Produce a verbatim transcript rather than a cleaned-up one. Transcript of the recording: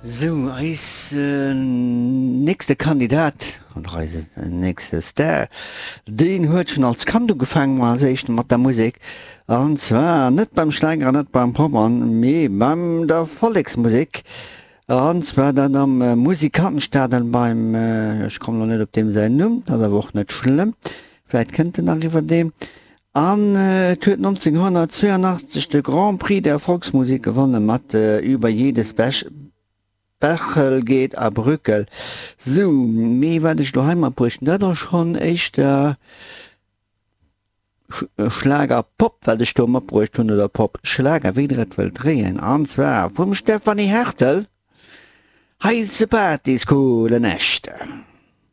Sou, eis nächste Kandidat, oder eise nächste Star, deen huet schonn als Kand ugefaangen, mol als éischten mat der Musek, an zwar net beim Schlager an net beim Pop, an mee beim der Volleksmusek, an zwar dat am Musikantenstadl beim, ech kommen elo net op deem säin Numm, dat ass awer och net schlëmm, vläit kënnt en nach iwwerdeem. An et huet nonzénghonnertzweeanachtzeg de Grand Prix der Volksmusik gewonne mat Über jedes Bächel geht a Brückel. Sou, mee wat ech elo hei matbruecht hunn, dat ass schonn éischter Schlager-Pop, wat ech do matbruecht hunn, oder Pop-Schlager, wéi der et wëllt dréien, an zwar vum Stefanie Hertel, Heiße Partys, coole Nächte.